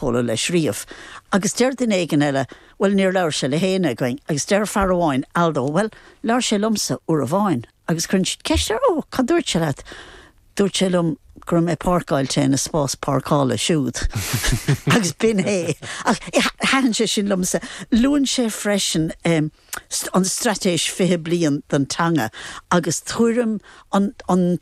Polo leis riamh. Agus deir duine éigin eile, Bhuel, níor labhair sé le héinne againn. Agus deir fear amháin, Aldo, Bhuel, labhair sé liomsa uair amháin. Agus cuireann siad ceist air, Ó, cad dúirt sé leat? Dúirt sé liom go raibh mé páirceáilte ina spás páirceála siúd. Agus b'in é. Ach thaitin sé sin liomsa. Luann sé freisin an Straitéis 20 Bliain don Teanga agus tuairim an, an,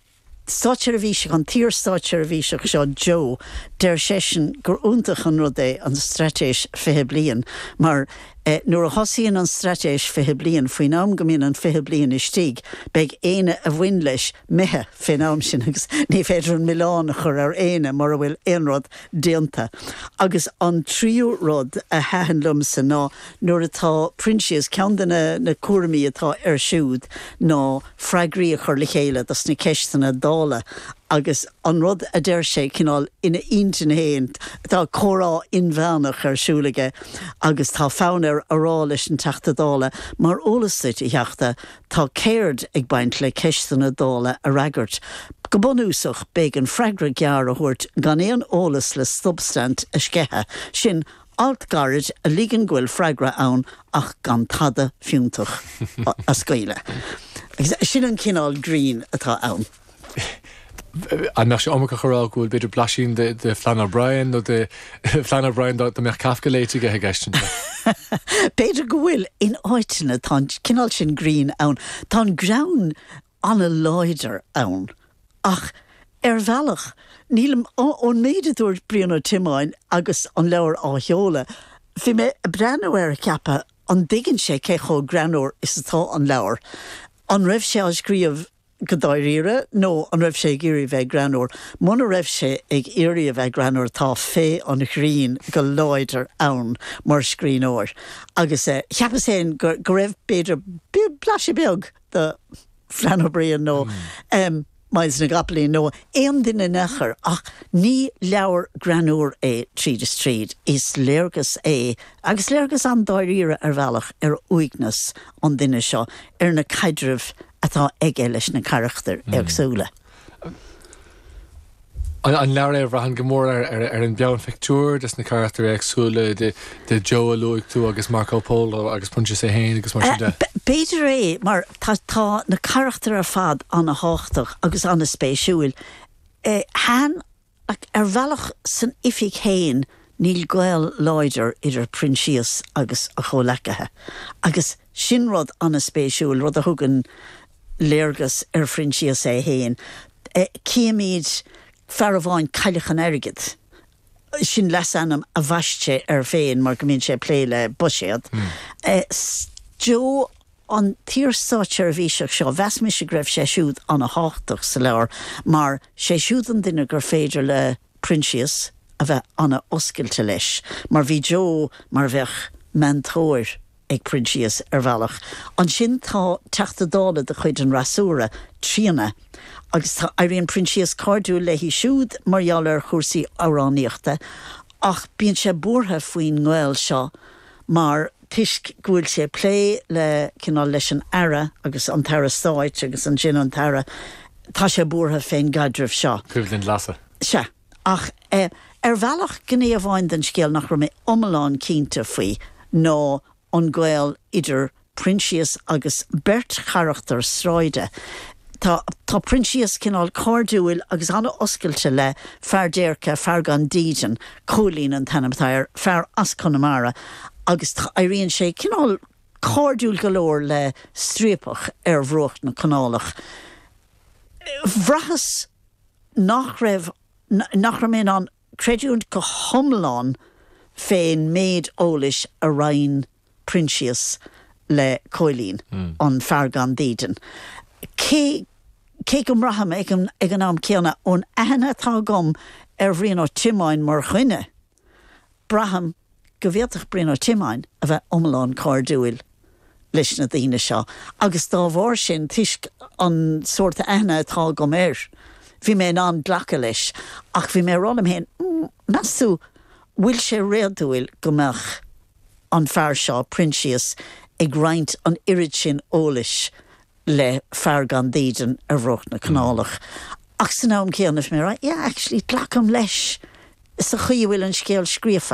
Státseirbhíseach, an t-iar-státseirbhíseach seo Joe, deir seisean gur iontach an rud é an Straitéis 20 Bliain mar nuair a thosaíonn an Straitéis 20 Bliain, faoin am go mbíonn an 20 bliain istigh, beidh éinne a bhain leis imithe fén am sin agus ní féidir an milleán a chur ar éinne mura bhfuil aon rud déanta. Agus an tríú rud a thaitin liomsa ná nuair atá Proinsias, ceann de na cúraimí atá air siúd ná, freagraí a chur le chéile dos na ceisteanna Dála agus an rud a deir sé cineál ina intinn fhéin, tá comhrá inmheánach ar siúl aige agus tá fonn air a rá leis an Teachta Dála, mar eolas duit, a Theachta, tá ceird ag baint le ceisteanna Dála a fhreagairt. Go bunúsach, b'éigean freagra gearr a thabhairt gan aon eolas le substaint a sceitheadh. Sin Alt gairid a ligeann go bhfuil freagra ann ach gan tada fiúntach a scaoileadh. Agus sin an cineál grinn atá ann. An mbeadh sé iomarcach a rá go bhfuil b'fhéidir blaisín de Flann O'Brien nó de Flann O'Brien dá mbeadh Kafka léite aige i gceist anseo? B'fhéidir go bhfuil. In áiteanna tá an cineál sin grinn ann. Tá an greann an-láidir ann. Ach ar bhealach, nílim, ón méid a dúirt Brian Ó Tiomáin agus an leabhar á sheoladh, bhí mé ag breathnú air ag ceapadh, an dtuigeann sé cé chomh greannmhar is atá an leabhar? An raibh sé á scríobh go dáiríre nó an raibh sé ag iarraidh bheith greannmhar? Muna raibh sé ag iarraidh a bheith greannmhar tá féith an ghrinn go láidir ann mar scríbhneoir. Agus cheapas féin go raibh, b'fhéidir, blaiseadh beag de Flann O'Brien nó Myles na gCopaleen nó aon duine in aon chor, ach ní leabhar greannmhar é tríd is tríd. Is léargas é, agus léargas an-dáiríre ar bhealach, ar uaigneas an duine seo, ar na caidrimh atá aige leis na carachtair éagsúla. An leabhar é a bhraitheann go mór ar an bpeann phictiúr des na carachtair éagsúla, de Joe a luaigh tú agus Marco Polo agus Proinsias é féin agus mar sin de? B'fhéidir é, mar tá na carachtair ar fad ana-thábhachtach agus ana-spéisiúil. Thaitin, ar bhealach san oifig féin níl gaol láidir idir Proinsias agus a chomhleacaithe agus sin rud ana-spéisiúil, rud a thugann léargas ar Phroinsias é féin. Címid fear amháin, Cailleach an Airgid, sin leasainm a bhaist sé air féin mar go mbíonn sé ag plé le buiséad. Joe, an t-iar-státseirbhíseach seo, mheas mise go raibh sé siúd ana-thábhachtach sa leabhar mar sé siúd an duine gur féidir le Proinsias a bheith ana-oscailte leis mar bhí Joe mar a bheadh meantóir ag Proinsias ar bhealach. Ansin tá Teachta Dála de chuid an fhreasúra, Tríona, agus tá, éiríonn Proinsias cairdiúil léi siúd mar gheall ar chúrsaí amhránaíochta ach bíonn sé buartha faoin ngaol seo mar, toisc go bhfuil sé ag plé le, cineál, leis an Aire agus an tAire Stáit agus ansin an tAire, tá sé buartha fén gcaidreamh seo. Coimhlint leasa. Sea. Ach ar bhealach, gné amháin den scéal nach raibh mé iomlán cinnte faoi ná an gaol idir Proinsias agus beirt charachtar sráide. Tá tá Proinsias cineál cairdiúil agus an-oscailte le fear déirce, fear gan dídean, Cóilín an t-ainm atá air, fear as Conamara, agus tá éiríonn sé cineál cairdiúil go leor le striapach ar bhruach na canálach. Bhraitheas nach raibh, nach raibh mé in ann creidiúint go hiomlán fén méid eolais a roinn Proinsias le Cóilín, an fear gan dídean. Cé, cé go mbraithim ag an, ag an am céanna, ón aithne atá agam ar Bhrian Ó Tiomáin mar dhuine, braithim go bhféadfadh Brian Ó Tiomáin a bheith iomlán cairdiúil leis na daoine seo agus dá bharr sin, toisc an sórt aithne atá agam air, bhí mé in ann glacadh leis. Ach bhí mé ag rá liom féin, meas tú, bhfuil sé réadúil go mbeadh an fear seo, Proinsias, ag roinnt an oiread sin eolais le fear gan dídean ar bhruach na canálach. Ach san am céanna, bhí mé ag rá, yeah, actually, glacaim leis. sa chaoi a bhfuil an scéal scríofa.